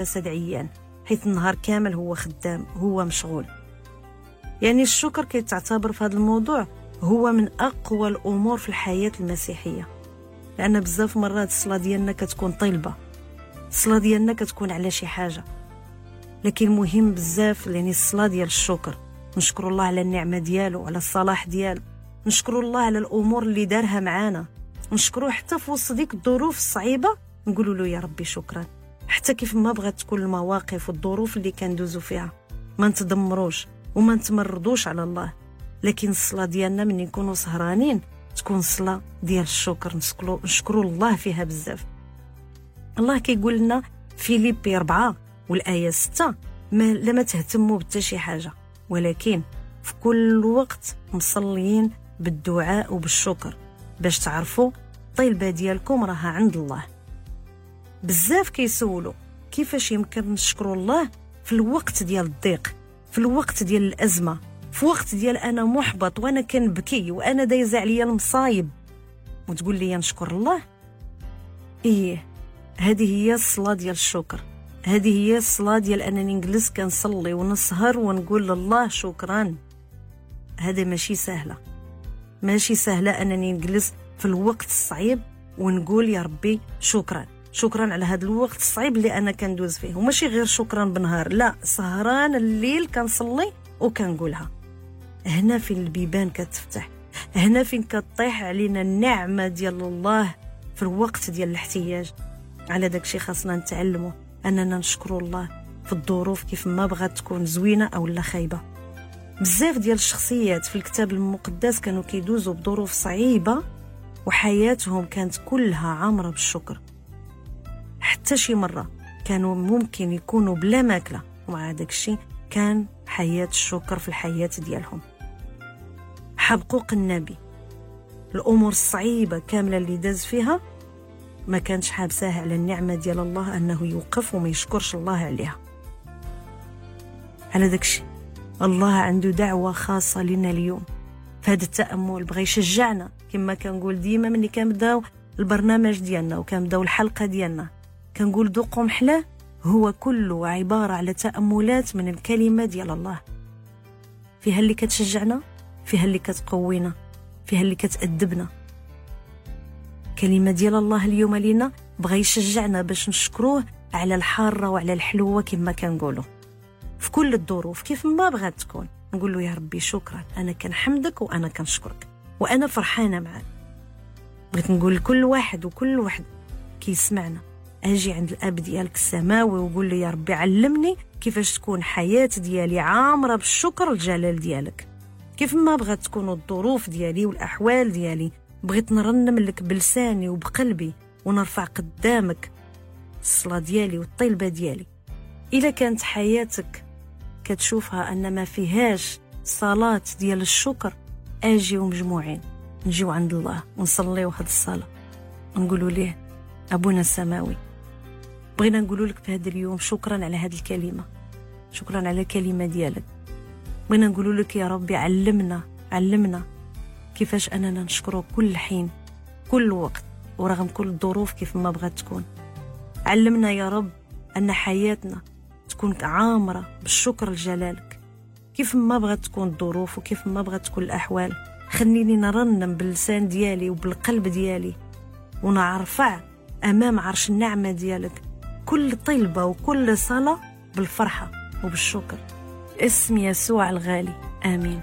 جسد عيان، حيث النهار كامل هو خدام، هو مشغول. يعني الشكر كيتعتبر في هذا الموضوع هو من اقوى الامور في الحياة المسيحيه، لان بزاف مرات الصلاة ديالنا كتكون طلبه، الصلاة ديالنا كتكون على شي حاجه، لكن مهم بزاف يعني الصلاة ديال الشكر. نشكر الله على النعمة ديالو، على الصلاح ديالو، نشكر الله على الامور اللي دارها معانا، نشكروه حتى في وسط ديك الظروف الصعيبه، نقولوا له يا ربي شكرا. حتى كيف ما بغات تكون المواقف والظروف اللي كندوزو فيها، ما نتدمروش وما نتمردوش على الله، لكن الصلاة ديالنا من نكونوا سهرانين تكون صلاة ديال الشكر، نشكروا الله فيها بزاف. الله كيقول لنا فيليبي 4 والايه 6: ما لما تهتموا بتا شي حاجه، ولكن في كل وقت مصليين بالدعاء وبالشكر، باش تعرفوا الطلبة ديالكم راها عند الله. بزاف كيسولوا كيفاش يمكن نشكروا الله في الوقت ديال الضيق، في الوقت ديال الازمه، في وقت ديال انا محبط وانا كنبكي وانا دايزه عليا المصايب، وتقول لي نشكر الله؟ ايه، هذه هي الصلاة ديال الشكر، هذه هي الصلاة ديال انني نجلس كنصلي ونسهر ونقول لله شكرا. هذا ماشي سهله، ماشي سهلة انني نجلس في الوقت الصعيب ونقول يا ربي شكرا، شكرا على هذا الوقت الصعيب اللي انا كندوز فيه. وماشي غير شكرا بالنهار، لا، سهران الليل كنصلي وكنقولها. هنا فين البيبان كتفتح، هنا فين كطيح علينا النعمة ديال الله في الوقت ديال الاحتياج. على داكشي خاصنا نتعلموا اننا نشكروا الله في الظروف كيف ما بغات تكون، زوينة او لا خايبة. بزاف ديال الشخصيات في الكتاب المقدس كانوا كيدوزوا بظروف صعيبة وحياتهم كانت كلها عامرة بالشكر. حتى شي مرة كانوا ممكن يكونوا بلا ماكله، ومع داكشي كان حياة الشكر في الحياة ديالهم. حبقوق النبي الامور الصعيبه كاملة اللي داز فيها ما كانش حابساه على النعمة ديال الله انه يوقف وما يشكرش الله عليها. على داكشي الله عنده دعوه خاصة لنا اليوم في هذا التامل، بغى يشجعنا كما كنقول ديما ملي كنبداو البرنامج ديالنا وكنبداو الحلقة ديالنا، كنقول ذوقوا محلاه هو كله عبارة على تاملات من الكلمة ديال الله، فيها اللي كتشجعنا، فيها اللي كتقوينا، فيها اللي كتأدبنا. كلمة ديال الله اليوم لينا بغى يشجعنا باش نشكروه على الحارة وعلى الحلوة كما كنقولوا في كل الظروف كيف ما بغات تكون. نقول له يا ربي شكرا، انا كنحمدك وانا كنشكرك وانا فرحانة معك. بغيت نقول لكل واحد وكل واحد كيسمعنا، اجي عند الاب ديالك السماوي وقول له يا ربي علمني كيفاش تكون حياة ديالي عامرة بالشكر الجلال ديالك. كيف ما بغات تكون الظروف ديالي والاحوال ديالي، بغيت نرنم لك بلساني وبقلبي ونرفع قدامك الصلاة ديالي والطلبة ديالي. الا كانت حياتك كتشوفها ان ما فيهاش صلاة ديال الشكر، اجيو مجموعين نجيو عند الله ونصليو هاد الصلاة ونقولوا ليه ابونا السماوي، بغينا نقولوا لك في هذا اليوم شكرا على هذه الكلمة، شكرا على الكلمة ديالك. بغينا نقولوا لك يا ربي علمنا، علمنا كيفاش اننا نشكره كل حين كل وقت ورغم كل الظروف كيف ما بغات تكون. علمنا يا رب ان حياتنا تكون عامرة بالشكر لجلالك كيف ما بغات تكون الظروف وكيف ما بغات تكون الاحوال. خليني نرنم باللسان ديالي وبالقلب ديالي ونرفع امام عرش النعمة ديالك كل طلبه وكل صلاة بالفرحه وبالشكر. اسم يسوع الغالي، امين.